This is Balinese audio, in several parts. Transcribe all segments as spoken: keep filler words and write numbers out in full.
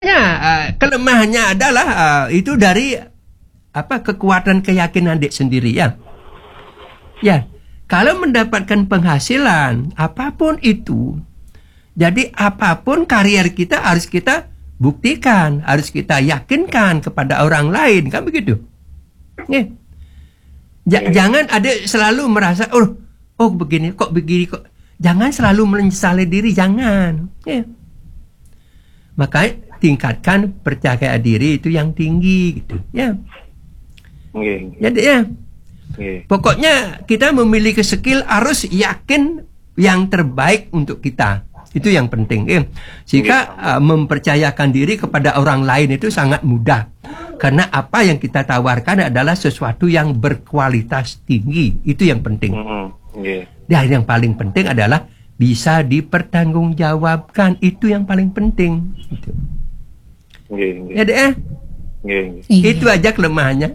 Ya, eh, kelemahannya adalah, eh, itu dari apa, kekuatan keyakinan dik sendiri, ya. Ya, kalau mendapatkan penghasilan apapun itu, jadi apapun karier kita harus kita buktikan, harus kita yakinkan kepada orang lain, kan begitu? Ya. Ja- Iya. Jangan ada selalu merasa, oh, oh, begini kok, begini kok. Jangan selalu menyesali diri, jangan. Ya. Makanya tingkatkan percaya diri itu yang tinggi gitu, ya. Nggih, nggih, Jadi, ya, nggih. Pokoknya kita memiliki skill, harus yakin yang terbaik untuk kita. Itu yang penting, ya. Sehingga, uh, mempercayakan diri kepada orang lain itu sangat mudah. Karena apa yang kita tawarkan adalah sesuatu yang berkualitas tinggi. Itu yang penting. Mm-mm, nggih. Dan yang paling penting adalah bisa dipertanggungjawabkan. Itu yang paling penting. Gitu. Nggih, nggih. Ya, Dek, eh? Nggih, nggih. Iya. Itu aja kelemahannya.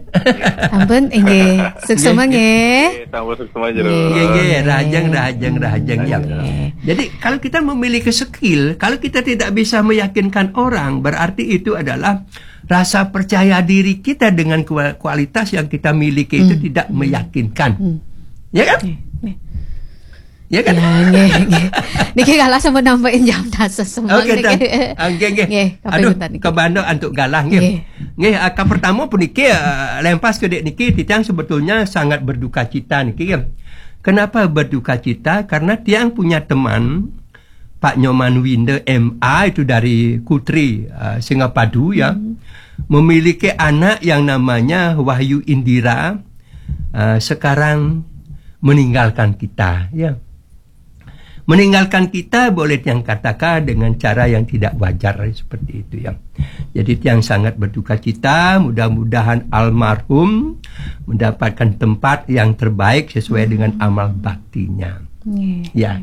Ampun, nggih. Suksema nggih. Nggih, tambah suksema jero. Nggih. Nggih, nggih, rahajeng, rahajeng, rahajeng, ya. Nggih. Jadi, kalau kita memiliki skill, kalau kita tidak bisa meyakinkan orang, berarti itu adalah rasa percaya diri kita dengan kua- kualitas yang kita miliki itu Hmm. tidak meyakinkan. Hmm. Ya kan? Nggih, nggih. Ya kan? Ya, nggih, nggih. Niki kalah sampun nambahin jam dasa semua Oke, niki. Tan. Ah, nggih, nggih. Nggih, Aduh, kapipunten niki. Kebando antuk galah nggih. Nggih. Nggih, ah, ka pertama puniki, ah, lempas ke dek niki, titiang sebetulnya sangat berduka cita niki, ya. Kenapa berduka cita? Karena tiang punya teman, Pak Nyoman Winda M A, itu dari Kutri, ah, Singapadu, ya. Memiliki anak yang namanya Wahyu Indira, ah, sekarang meninggalkan kita, ya. Meninggalkan kita boleh tiang katakan dengan cara yang tidak wajar seperti itu, ya. Jadi tiang sangat berduka cita, mudah-mudahan almarhum mendapatkan tempat yang terbaik sesuai dengan amal baktinya. Nggih. Ya.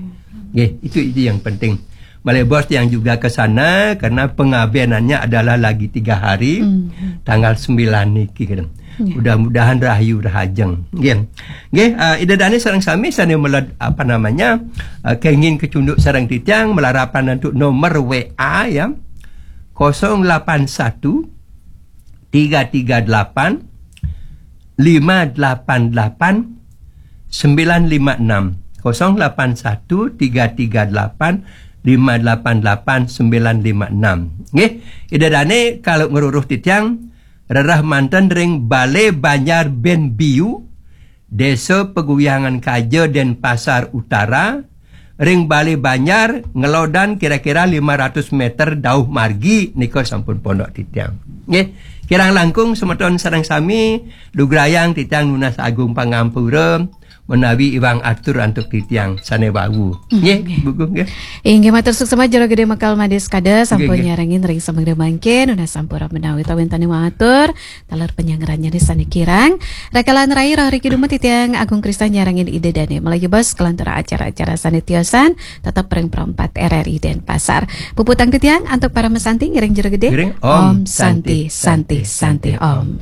Nggih, itu itu yang penting. Malih bos tiang juga ke sana karena pengabenannya adalah lagi tiga hari, Hmm. tanggal sembilan niki kan. Ya. Mudah-mudahan rahayu rahajeng. Nggih. Nggih, uh, Ida Dane sareng sami sane meled apa namanya, uh, kenging kecunduk sareng titiang, melarapan untuk nomor W A, ya. Kosong lapan satu tiga tiga delapan lima delapan delapan sembilan lima enam. Kosong lapan satu tiga tiga delapan lima delapan delapan sembilan lima enam. Nggih, Ida Dane kalau ngeruruh titiang, rerah manten ring Balai Banjar Benbiu, Desa Peguyangan Kaja, Denpasar Utara, ring Balai Banjar, ngelodan kira-kira lima ratus meter dauh margi, nika sampun pondok titiang. Nggih, kirang langkung semeton sareng sami, lugrayang titiang nunas agung pangampura, menawi iwang atur antuk titiang sane wau. Nggih, Bu Gung, nggih. Inggih matur suksema Jero Gede Mekal Madis Kada sampun Nggih, nggih. nyarengin ring samangda mangkin, nunas sampura menawi tawintane matur, taler penyangrannya di sane kirang. Rakalan rai roh riki dumet titiang Agung Kristan nyarengin Ida Dane. Malih bos kelantur acara-acara sane tiosan, tetep ring Pro empat R R I Denpasar. Puputang titiang antuk para mesanti ngiring Jero Gede. Ngiring Om Santi, Santi, Santi, Om.